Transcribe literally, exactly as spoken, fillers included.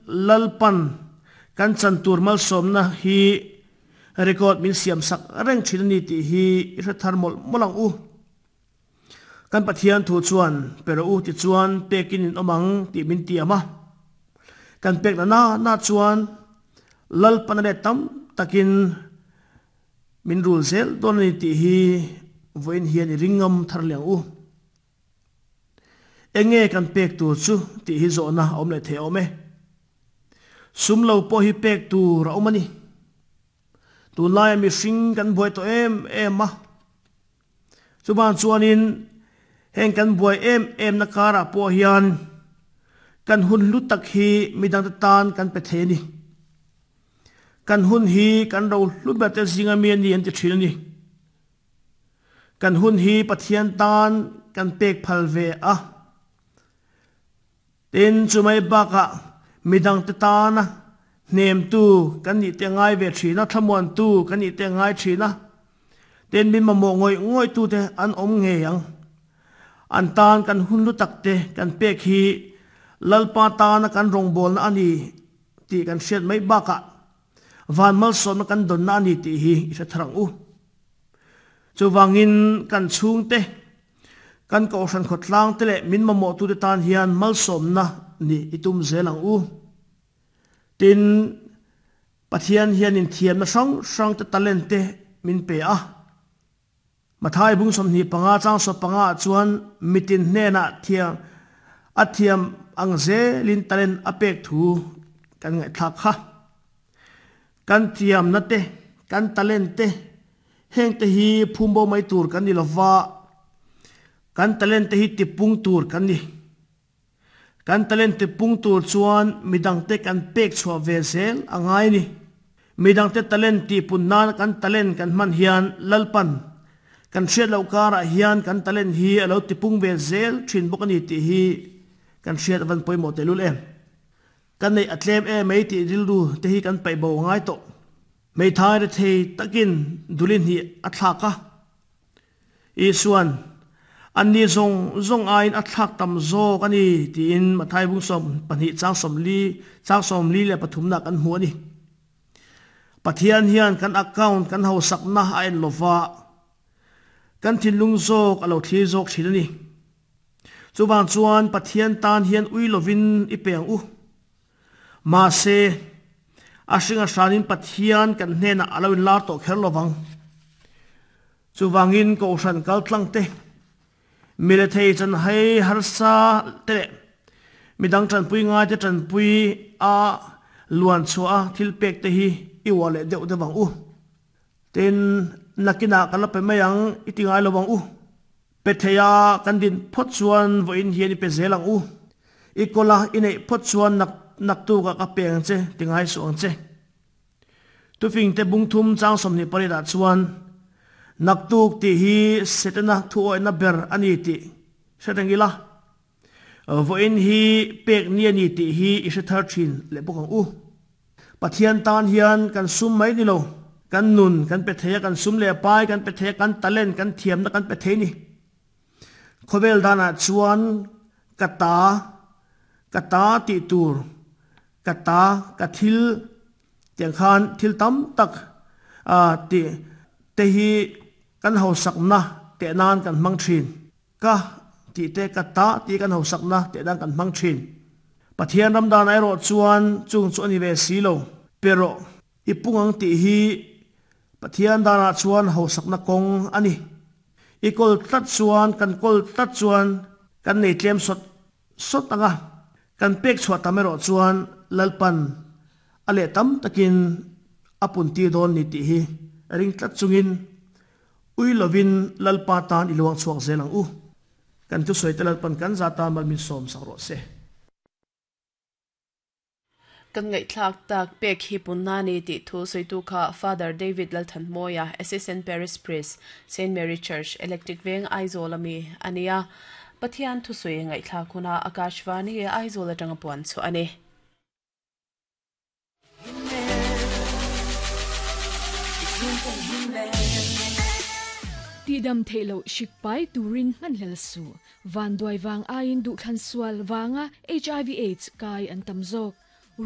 Lalpan kan chan tur malsawmna hi record min siam sak reng thin ani tih hi i hre thar mawlh mawlh ang u. Kan Pathian thu chuan pe rawh u ti chuan pekin in awm ang tih min tiam a. Kan pek na na na chuan Lalpan a let tam takin min rul zel dawn ani tih hi vawiin hian i ring ngam thar leh ang u. Enge kan pek tur chu tih hi zawhna a awm leh thei awm e. Sum lo pawh hi pek tur a awm a ni. Tunlaia mihring kan buai tawh em em a. Chuvang chuanin heng kan buai em em na karah pawh hian kan hun hlu tak hi midangte tan kan pe thei a ni. Kan hun hi kan ro hlu ber te zinga mi a ni an ti thin a ni. Kan hun hi Pathian tan kan pek phal ve a. Tin, chumai bakah midangte tana hnemtu kan nih te ngai ve thin a, thlamuantu kan nih te ngai thin a. Tin, min mamawh ngawih ngawihtute an awm ngei ang. An tan kan hun hlu takte kan pek hi Lalpa tana kan rawngbawlna a ni tih kan hriat mai bakah van malsawmna kan dawnna a ni tih hi i hre thar ang u. Chuvangin kan chhungte, kan kohhran khawtlangte leh min mamawhtute tan hian malsawmna nih i tum zel ang u. Tin, Pathian hianin thiamna hrang hrangte talent te min pe a. Mathai bung sawmhnih panga chang sawp panga ah chuan mitin hnenah thiam a thiam ang zelin talent a pek thu kan ngaihthlak kha. Kan thiamna te, kan talent te, heng te hi phum bo mai tur kan ni lova, kan talent te hi tipung tur kan ni. Kan talent tipung tur chuan midangte kan pek chhuah ve zel a ngai a ni. Midangte talent tihpun nana kan talent kan hman hian Lalpan kan hriat loh karah hian kan talent hi a lo tipung ve zel thin bawk a ni tih hi kan hriat a van pawimawh tehlul em. Ka neih a tlem em mai tih rilru te hi kan paih bo a ngai tawh. Hmeithai rethei takin duli hnih a thlak a. Isuan, Anni zawng zawng aiin a thlak tam zawk a ni tiin Mathai bung sawm pahnih chang sawmli chang sawmli leh pathumna kan hmu a ni. Pathian hian kan account kan hausakna a en lova, kan thinlung zawk a lo thlir zawk thin a ni. Chuvang chuan Pathian tan hian ui lovin i pe ang u. Mahse, a hring a hranin Pathian kan hnenah a lo inlar tawh kher lovang. Chuvangin Kohhran kaltlang te, milethei chanhai harsa te leh midang tanpui ngai te tanpui a luan chhuah a thil pek te hi i uar leh deuh deuh ang u. Tin, nakinah ka la pe mai ang i ti ngai lo ang u. Pe thei a kan din phawt chuan vawiin hian i pe zel ang u. I kawla i neih phawt chuan nak naktukah ka pe ang che ti ngai suh ang che. Tufingte bung thum chang sawmhnih pariat ah chuan naktuk tih hi Setana thuawihna ber a ni tih hre reng ila, vawiin hi pek ni a ni tih hi i hre thar thin leh bawk ang u. Pathian tan hian kan sum mai ni lo, kan nun kan pe thei a, kan sum leh pai kan pe thei a, kan talent, kan thiamna kan pe thei ni. Khawvel danah chuan ka ta, ka ta tih tur, ka ta, ka thil tiang khan thil tam tak tih te hi kan hausakna teh nan kan hmang thin. Ka tih te, ka ta tih kan hausakna teh nan kan hmang thin. Pathian ram danah erawh chuan chung chu a ni ve si lo. Pe rawh, i pung ang tih hi Pathian danah chuan hausakna kawng a ni. I kawl tlat chuan, kan kawl tlat chuan kan nei tlem sawt sawt ang a, kan pek chhuah tam erawh chuan Lalpan a leh tam takin a puntir dawn ni tih hi ring tlat chungin ui lovin Lalpa tan i luang chhuak zel ang u. Kan thusawi te Lalpan kan za tan mal min sawm sak rawh se. Kan ngaihthlak tak pek hi punna ni tih thu sawitu kha Father David Lalthanmawia, Assistant Parish Priest, Saint Mary Church, Electric Veng, Aizawl a mi a ni a. Pathian thusawi ngaihthlak hunah Akashvani Aizawl atanga puan chhuah a ni. Tihdam theih loh hrik pai turin hmanhlel suh. Vanduai vang aiin duhthlan sual vanga H I V Aids kai an tam zawk.